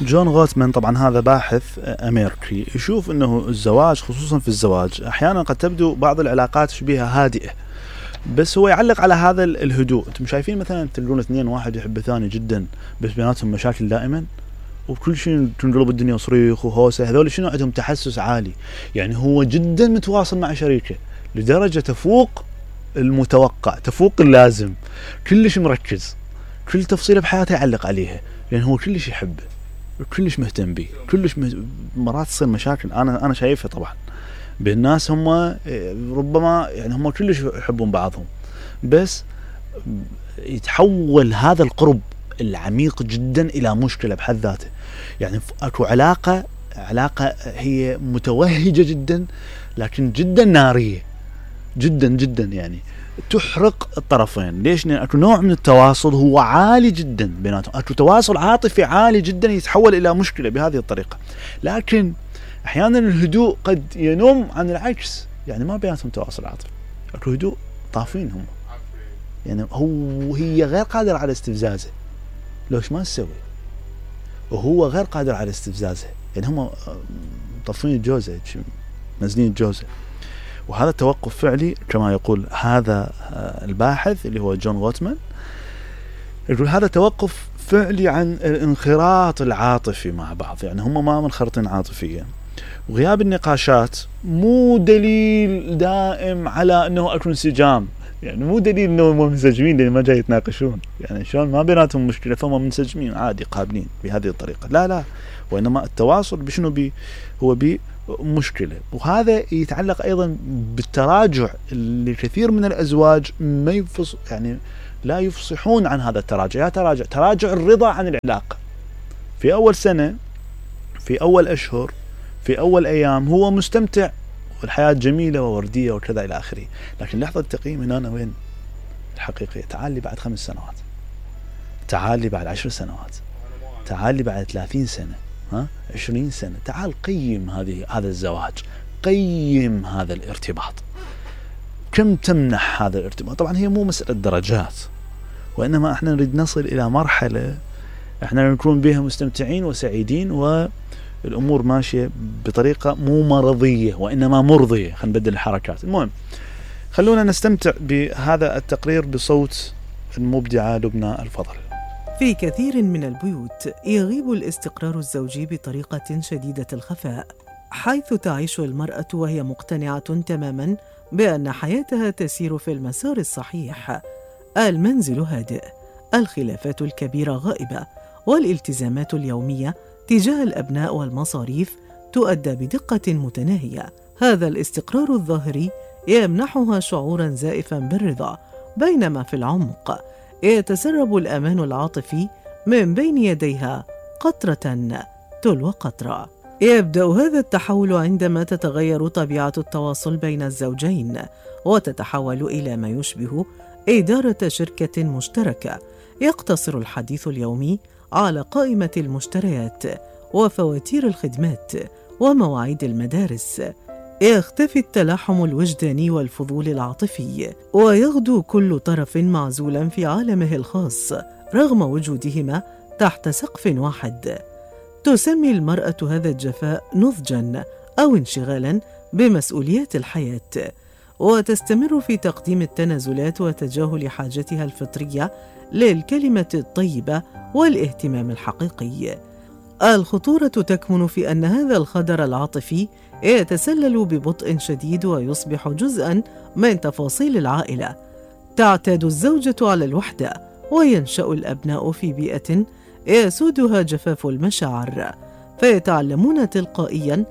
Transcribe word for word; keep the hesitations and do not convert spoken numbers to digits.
جون غوتمان طبعا هذا باحث أمريكي يشوف أنه الزواج خصوصا في الزواج أحيانا قد تبدو بعض العلاقات شبيهة هادئة، بس هو يعلق على هذا الهدوء. انتم شايفين مثلا تلقون اثنين واحد يحب الثاني جدا بس بيناتهم مشاكل دائما وكل شيء تنقلب الدنيا صريخ وهوسة، هذول شنو عندهم تحسس عالي، يعني هو جدا متواصل مع شريكه لدرجة تفوق المتوقع تفوق اللازم، كلش مركز كل تفصيلة بحياته يعلق عليها لأن هو كلش يحبه كلش مهتم به كلش مه... مرات تصير مشاكل أنا أنا شايفها طبعا بالناس هم ربما يعني هم كلش يحبون بعضهم، بس يتحول هذا القرب العميق جدا إلى مشكلة بحد ذاته. يعني أكو علاقة علاقة هي متوهجة جدا لكن جدا نارية جدا جدا، يعني تحرق الطرفين. ليش؟ لأن أكو نوع من التواصل هو عالي جدا بيناتهم، أكو تواصل عاطفي عالي جدا يتحول إلى مشكلة بهذه الطريقة. لكن أحيانا الهدوء قد ينم عن العكس، يعني ما بيناتهم تواصل عاطفي، أكو هدوء طافين هم، يعني هو هي غير قادر على استفزازه لوش ما تسوي، وهو غير قادر على استفزازه، يعني هم طفين الجوزة نازلين الجوزة. وهذا التوقف فعلي كما يقول هذا الباحث اللي هو جون غوتمان، يقول هذا توقف فعلي عن الانخراط العاطفي مع بعض، يعني هم ما منخرطين عاطفيا. وغياب النقاشات مو دليل دائم على انه اكو انسجام، يعني مو دليل انه منسجمين لان ما جاي يتناقشون، يعني شلون ما بيناتهم مشكله فهم منسجمين عادي قابلين بهذه الطريقه، لا لا، وانما التواصل بشنو بي هو بي مشكله. وهذا يتعلق ايضا بالتراجع اللي كثير من الازواج ما يفص يعني لا يفصحون عن هذا التراجع. يا تراجع تراجع الرضا عن العلاقه في اول سنه، في اول اشهر، في اول ايام هو مستمتع والحياه جميله وورديه وكذا الى اخره، لكن لحظه التقييم هنا وين الحقيقيه؟ تعال لي بعد خمس سنوات، تعال لي بعد عشر سنوات، تعال لي بعد ثلاثين سنه، ها عشرين سنه، تعال قيم هذه هذا الزواج، قيم هذا الارتباط، كم تمنح هذا الارتباط. طبعا هي مو مساله درجات، وانما احنا نريد نصل الى مرحله احنا نكون بها مستمتعين وسعيدين والامور ماشيه بطريقه مو مرضيه وانما مرضيه. خلينا نبدل الحركات. المهم خلونا نستمتع بهذا التقرير بصوت المبدعه لبنى الفضل. في كثير من البيوت يغيب الاستقرار الزوجي بطريقه شديده الخفاء، حيث تعيش المراه وهي مقتنعه تماما بان حياتها تسير في المسار الصحيح. المنزل هادئ، الخلافات الكبيرة غائبة، والالتزامات اليومية تجاه الأبناء والمصاريف تؤدى بدقة متناهية. هذا الاستقرار الظاهري يمنحها شعوراً زائفاً بالرضا، بينما في العمق يتسرب الأمان العاطفي من بين يديها قطرة تلو قطرة. يبدأ هذا التحول عندما تتغير طبيعة التواصل بين الزوجين، وتتحول إلى ما يشبه إدارة شركة مشتركة. يقتصر الحديث اليومي على قائمة المشتريات وفواتير الخدمات ومواعيد المدارس. يختفي التلاحم الوجداني والفضول العاطفي، ويغدو كل طرف معزولا في عالمه الخاص رغم وجودهما تحت سقف واحد. تسمي المرأة هذا الجفاء نضجا أو انشغالا بمسؤوليات الحياة، وتستمر في تقديم التنازلات وتجاهل حاجتها الفطرية للكلمة الطيبة والاهتمام الحقيقي. الخطورة تكمن في أن هذا الخدر العاطفي يتسلل ببطء شديد ويصبح جزءاً من تفاصيل العائلة. تعتاد الزوجة على الوحدة، وينشأ الأبناء في بيئة يسودها جفاف المشاعر، فيتعلمون تلقائياً